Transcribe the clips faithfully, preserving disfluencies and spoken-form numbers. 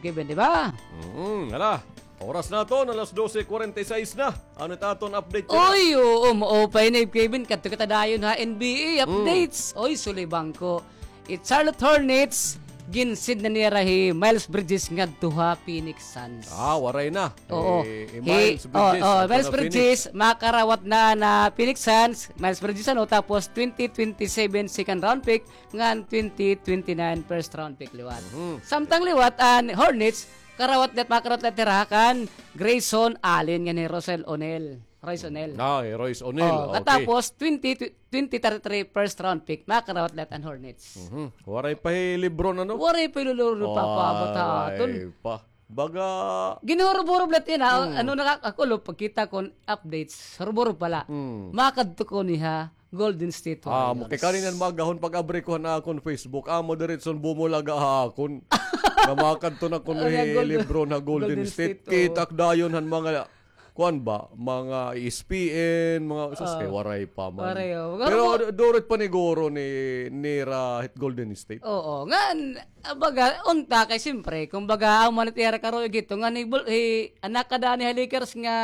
Kevin, di ba? Mm, hala. Oras naton, alas dose kwarenta y seis na. Ano it aton update? Oy, oo, maupay na, Kevin. Kadto kita dayon ha N B A updates. Oy, sulibang ko. It Charlotte Hornets, ginsid na nira hi Miles Bridges ngadto ha Phoenix Suns. Ah, waray na. Oo. Hi, hi Miles Bridges, oh, oh, Miles Bridges, makarawat na na Phoenix Suns. Miles Bridges, ano, tapos twenty twenty-seven second round pick, ngan twenty twenty-nine first round pick liwat. Samtang liwat an Hornets, karawat liwat, makarawat liwat hira kan Grayson Allen ngan hi Russell O'Neal. Royce O'Neal. Ah, hi Royce O'Neal. Oh, okay. Katapos, twenty, twenty thirty-three first round pick, makarawat liwat an Hornets. Waray pa hi LeBron, ano? Waray pa hi LeBron, papaabot ha aton. Waray pa. Baga ginhurob-hurob liwat yana, ano, nakakakulo, pagkita kon updates, hurob-hurob pala. Makadto kuno ha Golden State Warriors. Ah, kay kanina magahon pag-abri ko han akon Facebook, amo diretson bumulaga ha akon. Nga makadto na kuno hi LeBron ha Golden State. Kita ak dayon han mga, kuan ba, mga E S P N, mga, sus, kay waray pa man. Waray, oh. Pero du-, duro it paniguro ni, nira hit Golden State. Oo, ngan, ah, baga, unta kay siyempre, kumbaga, amo man it ira karuyag hito, ngan hi, hi, an nakadani ha Lakers nga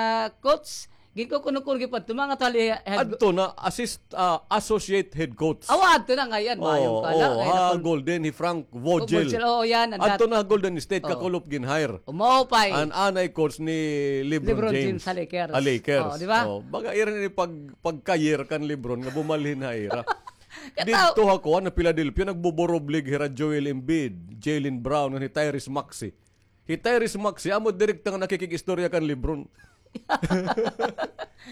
coach, ginkukuno-kuno, ginpadto, mga tali, head. Adto na, assist, ah, associate head coach. Awa, adto na ngay-an, maayong kala, ha Golden, hi Frank Vogel. Vogel, oo, yan, adto na ha Golden State, kakulop gin-hire. Maupay. An anay coach ni LeBron James ha Lakers. Ha Lakers. Oo, di ba? Oo, baga ira ini pag, pagka-year kan LeBron nga bumalhin ha ira. Didto ha kuan, ha Philadelphia, nagbuburublig hira Joel Embiid, Jaylen Brown, ngan hi Tyrese Maxey. Hi Tyrese Maxey, amo direkta nga nakikig-istorya kan LeBron.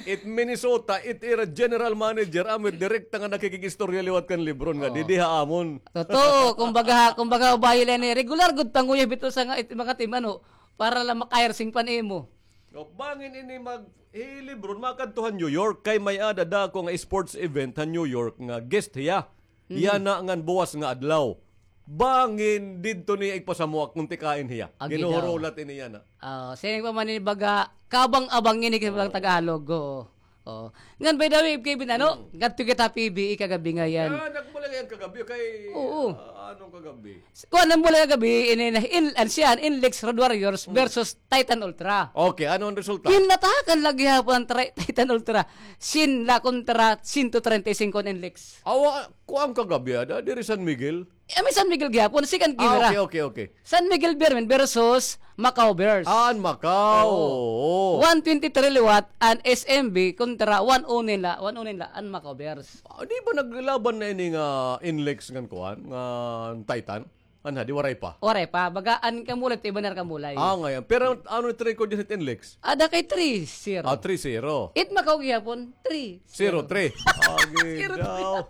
It Minnesota, it ira general manager, amo direkta nga nakikig-istorya liwat kan LeBron nga didi ha amon. Totoo, kumbaga, kumbaga, ubahi la ini, regular gud panguyab ito sa nga, it, mga team, ano, para la maka-hire sing pan-imo. O, bangin ini mag, hi LeBron, makadto ha New York, kay may-ada dako nga sports event ha New York nga guest hiya. Yana ngan buwas nga adlaw. Bangin didto niya igpasamuak kon tikain hiya. Ginhuhurulat ini yana. Ah, siring pa man ini baga, kaabang-abang ini kay mga Tagalog, oo. Oo. Ngan, by the way, Kevin, ano, ngadto kita P B A kagabi ngay-an. Ah, nagmulay ngay-an kagabi kay, oo, ah, ano kagabi? Kuan, nagmulay kagabi, ini na, in, an siya, an Inlex Road Warriors versus Titan Ultra. Okay, ano an resulta? Ginlatahakan la gihapon an Tri-, Titan Ultra. Syen la kontra sento treinta y cinco an Inlex. Awa, kuan kagabi, ada, diri San Miguel? Eh, may San Miguel gihapon, second game ra. Ah, okay, okay, okay. San Miguel Beermen versus Macau Bears. Ah, an Macau. Oo. One twenty-three liwat, an S M B kontra one oh nine la, one oh nine la, an Macau Bears. Ah, di ba naglaban na ini nga Inlex ngan kuan, ngan Titan? An hadi, waray pa? Waray pa. Baga, an kamulay, iba na kamulay. Ah, ngay-an. Pero ano it record yana hit Inlex? Ada kay three zero. Ah, three zero. It Macau gihapon, three zero. Zero three. Agi daw.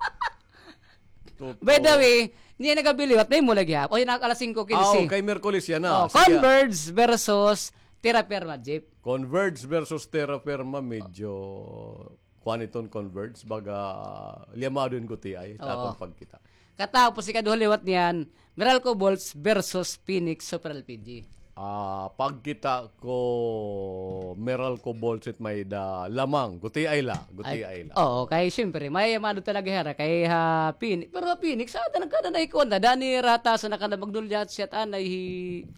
By the way, niya nagabiliwat na yung mula gihap. O, yun ang alas singko kinse. Ah, okay, Miyerkules yana. Oh, sige. Converge versus Terra Firma, Jeep. Converge versus Terra Firma, medyo kuan iton Converge, baga liyamado in gutiay, oo, aton pagkita. Katapos, ikaduha liwat niyan, Meralco Bolts versus Phoenix Super L P G. Ah, pagkita ko Meralco Bolts it may-ada lamang. Gutiay la, gutiay la. Oo, kay siyempre, may mado talaga hira kay ha Phoenix. Pero ha Phoenix, sa ata nagkada na ikuan na, Dani Rata, sa nakada magdulyat siya, anay hi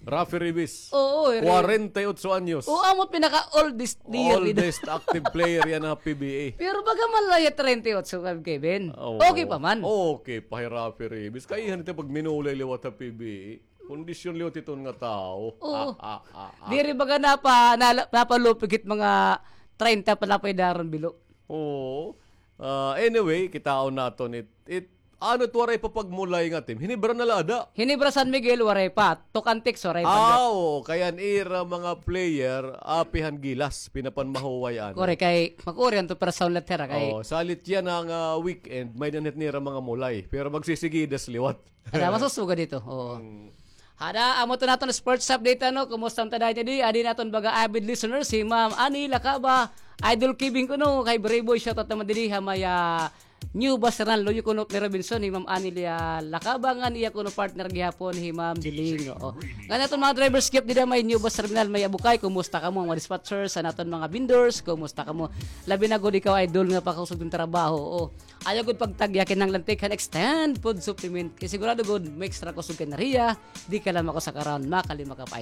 Raffy Ribis. Oo, eh, kwarenta y otso anyos. Oo, amo pinaka-oldest player. Oldest active player yana ha P B A. Pero baga man la hiya treinta y ocho, Kevin. Oo. Okay pa man. Okay pa hi Raffy Ribis. Kay han ito pag minulay liwat ha P B A. Kondisyon liwat iton nga tawo. Oo. Ah, ah, ah, ah. Diri baga napa-, nala-, napalupig it mga treinta pa la pa daron bilo. Oo. Ah, anyway, kitaon naton it, it, ano it waray pa pagmulay nga team? Ginebra na la ada. Ginebra, San Miguel, waray pa. Tucantex, waray pa. Ah, oo. Kay an ira mga player, apihan gilas, pinapanmahuway, ano. Correct, kay makuri an to personal letter, kay. Oo, salit yana nga weekend, may-ada na it nira mga mulay. Pero magsisigidas liwat. Ada, masusugad ito. Oo. Hmm. Ada, amo to naton sports update, ano, kumusta man ta dahil di, adi naton baga avid listeners, si Ma'am Annie Lacaba, Idol Kibing kuno, kay Brayboy, shoutout naman didi, ha may, ah, New Bus Rinal, luyo kuno ni Robinson, hi Ma'am Annie, ah, Lacaba, ngan iya kuno partner gihapon, hi Ma'am Diling, oo. Ngan aton mga drivers gift dida may New Bus Terminal, may Abukay, kumusta kamo, mga dispatchers, an aton mga vendors, kumusta kamo, labi na gud ikaw, Idol, nga pakakusog hin trabaho, oo. Ayaw gud pagtagya, kinahanglan tikang extend food supplement. Kay sigurado gud, may extra kusog ka enerhiya, di ka la makusag around, makalima ka pa.